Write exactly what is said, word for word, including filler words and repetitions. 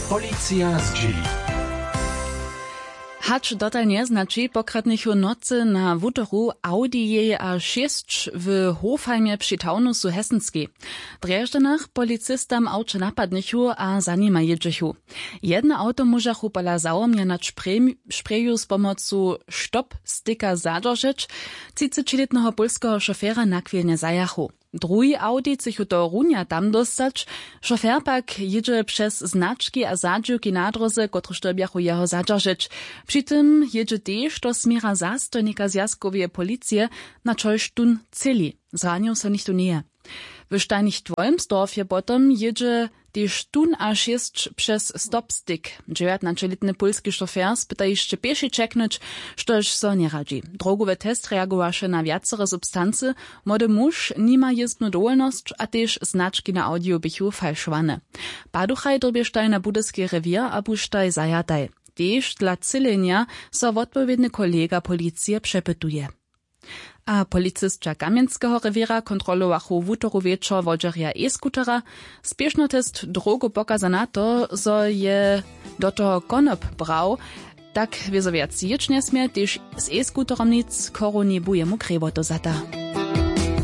Policija zdźěli. Hač dotal njeznaći pokradnychu nocy na wutoru audijej a šěsć w hofheimje při taunusu hesenskej. W drježdźanach policistam awče napadnychu a za nima jědźechu. Jedne awto móžachu pola zawomnjena špreju z pomocu stop sticka zadźeržeć. Třicećilětneho pólskeho šofera nachwilnje zajachu. Druhi awdi chcychu to runja tam dóstać. Šofer pak jědźe přez znački a zadźiwki na dróze kotryž dyrbjachu jeho zadźeržeć. Při tym jědźe tež do směra zastojnika zwjazkoweje policije, na čož tón třěli. Zranił so nichtó njeje. W štajnich dwojmstorfje potom jědźe tež tón a šěsć přez stopstick. Dźewjatnaćelětny pólski šofer spyta hišće pěši ćeknyć, štož so njeradźi. Drogowy test reagowaše na wjacere substancy. Młody muž nima jězbnu dowolnosć a tež znački na awdiju běchu falšowane. Paduchaj dyrbještaj na budyski rewěr a buštaj zajataj. Tež dla třělenja so wotpowědny kolega policije přepytuje. A policisća kamjenskeho rewěra kontrolowachu wutoru wječor wodźerja e-scootera. Spěšnotest drogow pokaza na to zo je do toho konop brał. Tak wězo wjac jěć njesmě tež z e-scooterom nic chorowni bu jemu krejwotu zata.